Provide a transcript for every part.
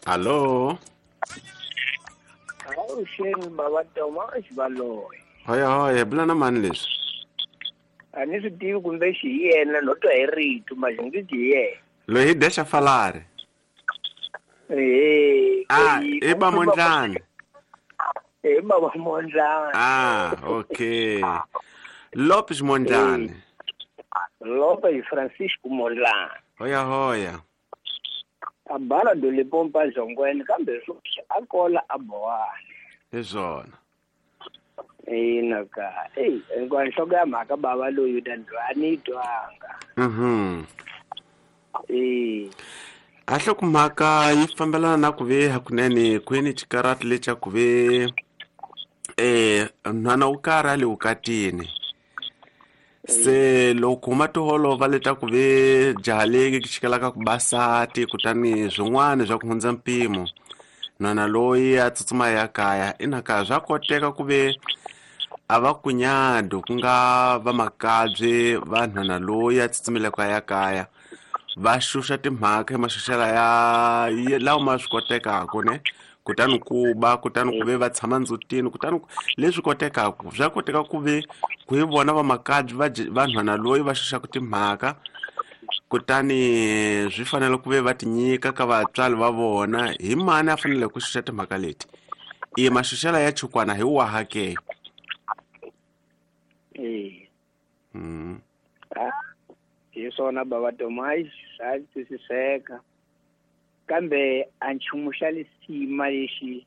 Hallo. Avuxeni bava Toma Xivaloyi. Hoya hoya, bula na mani leswi? A ni swi tivi kumbe xi hi yena no twa hi rito manje ngi ti hi yena. Loyi hi Desha Falari. Eh. Ah, i ba Mondlani. Eh, baba Mondlani. Ah, okay. Lopes Mondlani. Lopes Francisco Mondlani. Hoya hoya. A bala do Limpopo Zongweni kambe sweswi a kola a Bowani. Hi swona. Ina ka. Ey, hinkwayo nhloko ya mhaka bava loyi ta a ni yi twanga. Eh. A nhlokomhaka yi fambelana na ku ve hakunene kwini xikarati lexa ku ve nhwana wo karhi a le vukatini. Se loko huma tiholova leta ku ve jaha leyi xikelaka ku basati kutani swin'wana swa ku hundza mpimo nhwana loyi a tsutsuma ya kaya ina ka swa koteka ku ve a va kunyado ku nga vamakabye va nhwana loyi a tsutsumelaka ya kaya va xuxa timhaka hi maxuxela ya lawa ma swi kotekaka ne kutani ku ba kutani ku ve va tshama ndzutini kutani leswi kotekaka swa koteka ku ve ku hi vona vamakabye va nhwana loyi va xuxaka timhaka kutani swi fanele ku ve va tinyika ka vatswari va vona hi mani a fanele ku xuxa timhaka leti i maxuxela ya chukwana hi waha ke. Eh. Hi swona bava Tomai swa twisiseka kambe a nchumu xa lisima lexi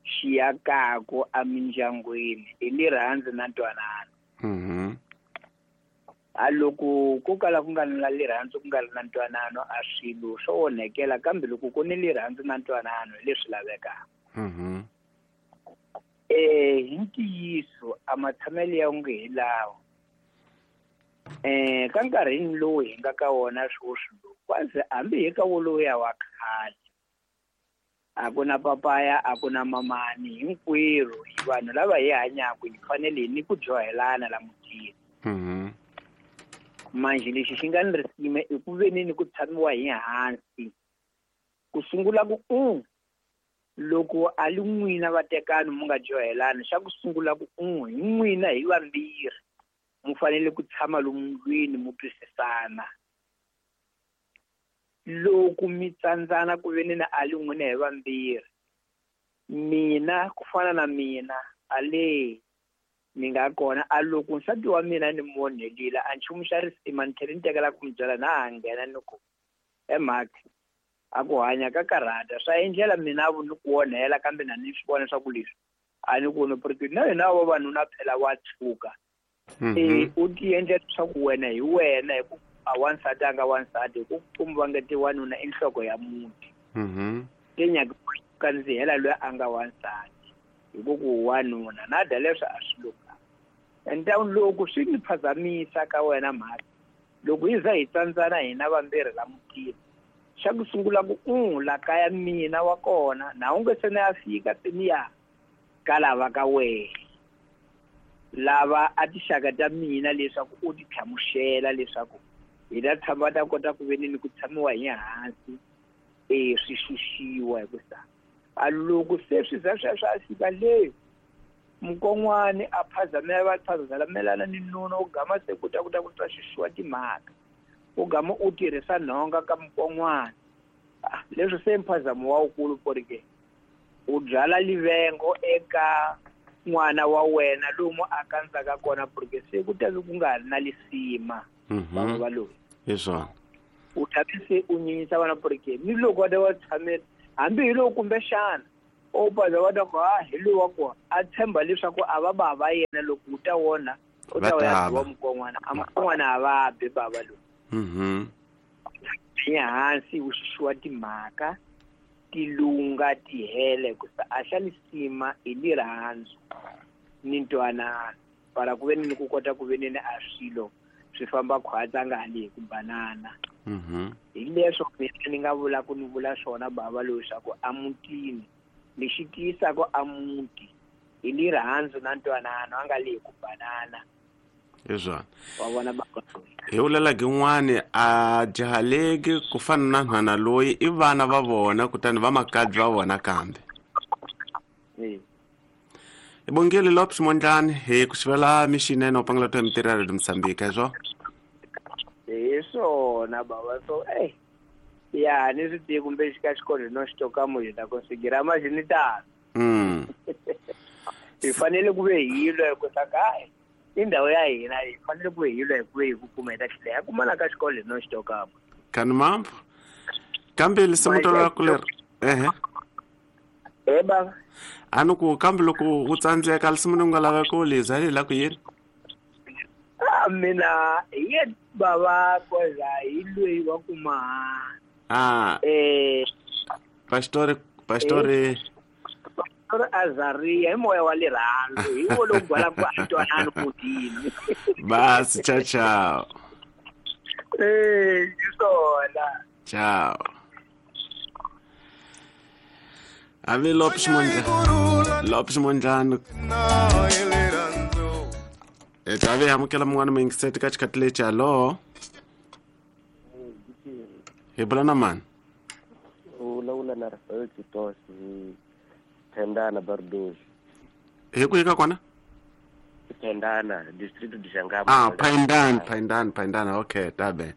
xi yakako emindyangwini i lirhandzu na ntwanano. A loko ko kala ku nga ri na lirhandzu ku nga ri na ntwanano a swilo swo onhekela kambe loko ku ni lirhandzu na ntwanano hi leswi lavekaka. Hi ntiyiso a matshamelo ya onge hi lawa. Ka nkarhini lowu hi nga ka wona sweswi lowu kwazi hambi hi ka wolowo wa khale a ku na papaya a ku na mamani hinkwerhu hi vanhu lava hi hanyaka hi fanele hi ni ku dyohelana la mutini. Manje lexi xi nga ni risima i ku veni ni ku tshamiwa hi hansi ku sungula ku loko a li n'wina vatekani mu nga dyohelani xa ku sungula ku hi n'wina hi vambirhi mu fanele ku tshama lomu ndlwini mu twisisana. Loko mi tsandzana ku veni na a li n'wina hi vambirhi mina ku fana na mina a le ni nga kona a loko nsati wa mina ni monhelile a nchumu xa risima ni tlhela ni tekela ku mi byela na ha nghena ni ku emhaka a ku hanya ka karhata swa endlela mina vu ni ku onhela kambe na ni swi vona swa ku leswi a ni ku ni na hina vavanuna phela wa tshuka. U ti endla leswaku wena hi wena hi ku a wansati a nga wansati hi ku kumba va nga ti wanuna i nhloko ya muti. Te nyaka kandzihela loyi a nga wansati hi ku ku wanuna na dya leswi a swi lunganga. Ende loko swi ni phazamisa ka wena mhaka loko hi za hi tsandzana hina vambirhi la mutini xa ku sungula ku la kaya mina wa kona na u nge se na ya fika teniya ka lava ka wena lava a tixaka ta mina leswaku u ti hlamusela leswaku hi ta tshama ta kota ku veni ni ku tshamiwa hi hansi swi xuxiwa hi ku sa a loko se swi za sweswo a fika le mukon'wani a phazamela va phazamelana ni nuna u gama se ku ta ku ta ku ta xuxiwa timhaka u gama u tirhisa nhonga ka mukon'wani leswi se mphazamo wa wukulu porike u byala livengo eka n'wana wa wena lomu a kandzaka kona porque se ku ta ku nga ri na lisima vanhu va loyi. Hi swona. U ta se u nyenyisa vana porque ni loko va ta va tshamela hambi hi loko kumbexana o paza va ta ku ha hi lowu wa kona a tshemba leswaku a va bava yena loko u ta wona u ta ya biwa mukon'wana a mukon'wana a va bi bava lowu. Hi hansi u xuxiwa timhaka tilunga tihele ku sa a xa lisima i lirhandzu ni ntwanano para ku veni ni ku kota ku veni ni a swilo swi famba khwatsa nga hali hi ku banana. Hi leswo mina ni nga vula ku ni vula swona bava loyi swa ku emutini lexi tiyisaka a muti hi lirhandzu na ntwanano a nga le hi ku banana. Hi swona. Wa vona baba. Hi vulela gin'wani a jahaleki ku fana na nhwana loyi i vana va vona kutani va makadzi va vona kambe. Hi bongile Lopes Mondlani hi ku xivela mixinene u pangela to mitirho ya Radio Mozambique hi swona. Hi swona baba so ya ni swi tivi kumbe xika xikolo no xi toka mo hi ta conseguir mas ni tano. Hi fanele ku ve hi lwa hi ku saka i ndhawu ya hina hi fanele ku ve hi lwa hi ku ve hi ku kuma hi ta tlhela ya kumana ka xikolo no xi toka mo. Kani mambo. Kambe lisimu to ra ku leri. Ehe. Baba. A ni ku kambe loko u tsandzeka lisimu ni nga lava ku liza hi la ku yini? Mina hi ye baba koza hi loyi wa kuma. Pastor Azaria hi moya wa lerhandzu hi wo lowu gwala ku a twanana kutini. Basi ciao ciao. Hi swona. Ciao. Ave Lopes Mondlane. Lopes Mondlane. Ave amukela mun'wana muyingiseti ka xikhathi lexi. Hallo. Hi bula na mani? U vulavula na Rafael Titos hi Tendana Bardoshi. Hi kwihi ka kona? Tendana, distrito de Jangama. Paindana. Okay, tabe.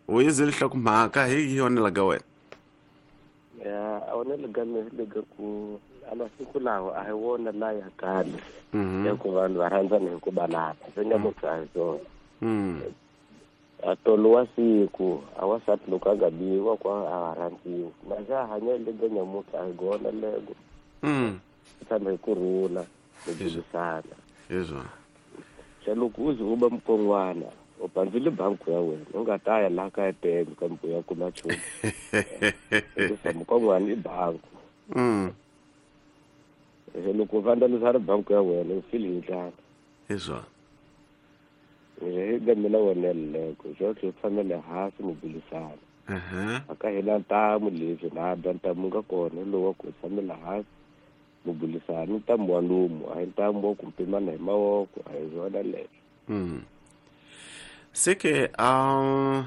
U yizile nhlokomhaka hi yona la ka wena. Ya, a wona lega me lega ku a masiku lawa a hi wona la ya khale. Ya ku vanhu va rhandzana hi ku banana. Swi nga muthu a hi swona. A tolo wa siku a wasati loko a nga biwa kwa a rhandziwa. Maxa hanya lega nyamutlha a hi gona lego. Tshama hi ku rhula ni burisana. Hi swona. Xa loko u ze u ba mukon'wana u pandzile banku ya wena u nga ta ya laha ka ATM kambe u ya kuma nchumu. Hikuva mukon'wana i banku. Loko u vandalisa ri banku ya wena u fili hi ndlala. Hi swona. Hi ga mina wona leko jotlhe u tshamele hansi mi burisana. A ka hina ntamu leswi na dya ntamu nga kona lowu wa ku tshamela hansi mi burisana ntamu wa nomu a hi ntamu wa ku pimana hi mavoko a hi swona leswo. Seke a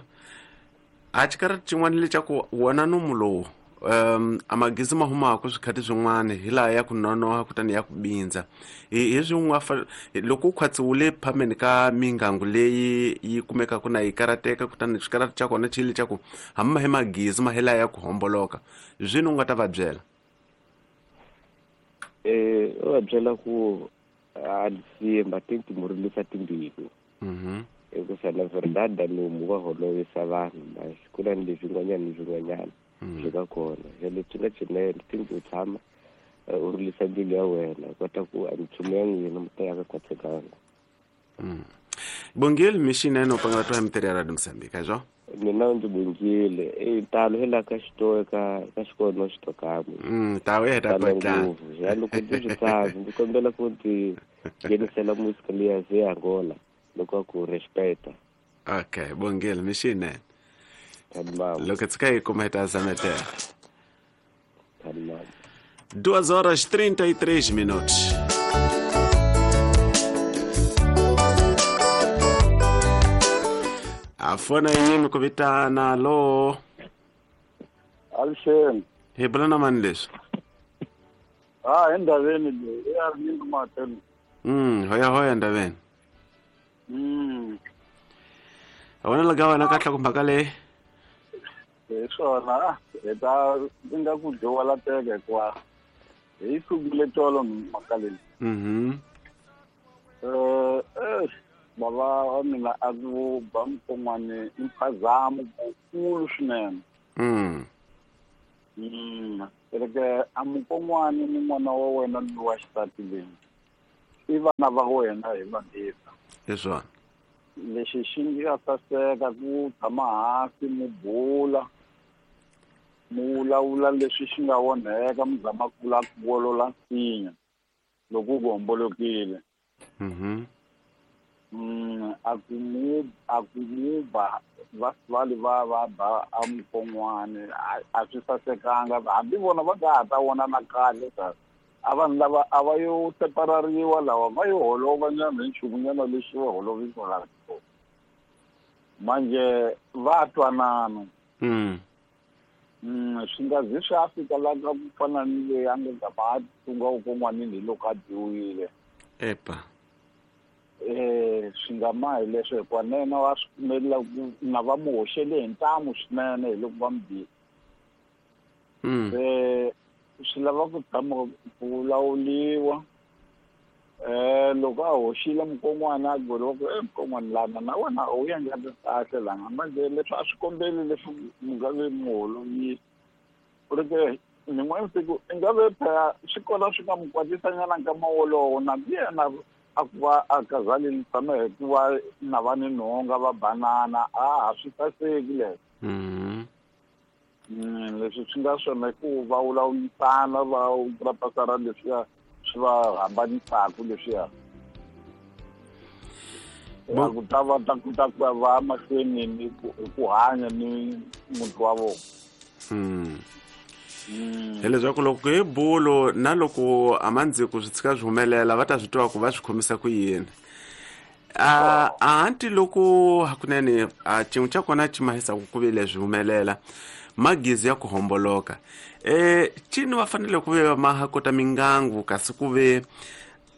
xikarhi xin'wana lexaku wona nomu lowu a magezi ma humaka swikhathi swin'wana hi laha ya ku nonoha kutani ya ku bindza hi swin'wana loko u khwatsiwile phameni ka mingangu leyi yi kumekaka na yi karateka kutani xikarati xa kona xi lexaku hambi hi magezi ma hi laha ya ku homboloka swini u nga ta va byela? U va byela ku a simba tintimurilisa timbilu. Hikuva na verdade nomu wa holovisa vanhu mas ku na leswi swin'wanyana ni swin'wanyana swi nga kona. Se leswi nga swinene tindlu u tshama u rilisa mbilu ya wena kota ku a minchumu ya n'wina mi ta ya ka khwatsekanga. Bongile mixinene u pangela twa mitirho ya Radio Mozambique hi swona? Mina ndzi bongile talo hi la ka xitoe ka xikolo no xitokamwe. Tawu ya ta kwetla. Ya loko ndzi swi tsaka ndzi kombela ku ndzi nghenisela musika liya ze Angola loko ku respecta. Okay, bongile mixinene. Loko tsika hi kuma hi ta zametela. 2:33. A fona yini ku vitana lo? Alixeni. Hi bula na mani leswi? Endhaveni leyi ya ri nyingi matelo. Hoya hoya endhaveni. A wena lega wena ka nhlokomhaka leyi? Hi swona hi ta nga ku dyowa la teka hikuva hi sungule tolo mhaka leyi. Bava wa mina a ku ba mukon'wana i mphazamo wukulu swinene. Reke a mukon'wana ni n'wana wa wena lowa xisati leyi i vana va wena hi vambirhi. Hi swona. Lexi xi nga saseka ku tshama hansi mi bula mi vulavula leswi xi nga onheka mi zama ku la ku wolola nsinya loko ku hombolokile. A ku mu ba va vale va va ba a mukon'wana a swi sasekanga hambi vona va nga ha ta vona na kahle A vanhu lava a va yo separariwa lawa va yo holova nyana hi nchumu nyana lexi va holovisiwaka manje va twanana. Swi nga zi swi a fika la ka ku fana ni leyi a nga gama a tunga ukon'wanini hi loko a dyiwile. Epa. Swi nga ma hi leswo hikuva na yena wa swi pfumelela ku na va mu hoxele hi ntamu swinene hi loko va mu bile. Se swi lava ku tshama ku vulavuriwa. Loko a hoxile mukon'wana a byeriwa ku mukon'wana lana na wena a wu endlanga kahle lana manje leswi a swi kombeli leswi mi nga ve mi holovile ku ri ke nin'wana siku i nga ve phela swi kona swi nga mu kwatisanyana nkama wolowo na yena a ku va a kazaleni tshama hi ku va na va ni nhonga va banana a ha swi saseki leswo. Leswi swi nga swona i ku va vulavurisana va purapasara leswiya swi va hambanisaka leswiya. Ku ta va ta kota ku va mahlweni ni ku hanya ni muti wa vona. Hileswaku loko hi bulo na loko amandziko swi tshika swi humelela va ta swi tiva ku va swi khomisa ku yini. Anti loko hakunene a xin'we xa kona xi mahisaku ku ve leswi humelela magizi ya ku homboloka cini va fanele ku ve ma ha kota mingangu kasi ku ve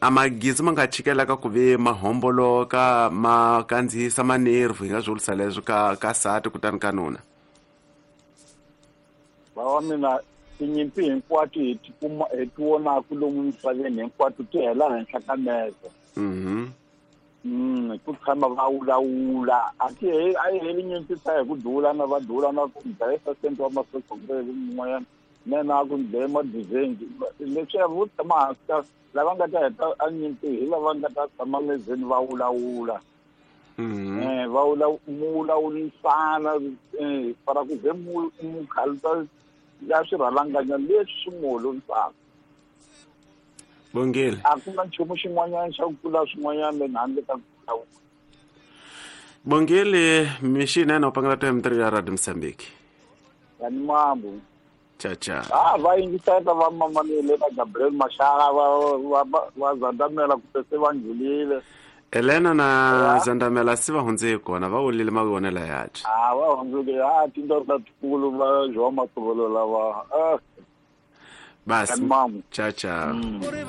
a magizi ma nga chikelaka ku ve ma homboloka ma kandziyisa manervu hi nga swi vurisa leswo ka sati kutani ka nuna. Va wa mina tinyimpi hinkwato hi ti kuma hi ti vonaku lomu misaveni hinkwato ti hela henhla ka meza. Ku tshama va vulavula a ti a yi heli nyimpi ta hi ku dulana va dulana ku dlayisa sente wa masocha kumbe mun'wanyana nena a ku dlaye madizengi leswiya vo tshama hansi ka lava nga ta heta a nyimpi hi lava nga ta tshama mezeni va vulavula. Va mu vulavurisana para ku ze mu khalisa ya swirhalanganya leswi swi mu holovisaka. Bongile. A ku na nchumu xin'wanyana xa ku tlula swin'wanyana handle ka ku vulavula. Bongile mixinene u pangela to M3 ya Radio Mozambique. Yani mambo. Cha cha. Va yingiseta va mamanile na Gabriel Mashara va Zandamela ku se va ndlulile. Elena na Zandamela se va hundze kona va wulile mavonelo yache. Va hundzile tindhawu ta tikulu va João Matovolo lava. Basi. Cha cha.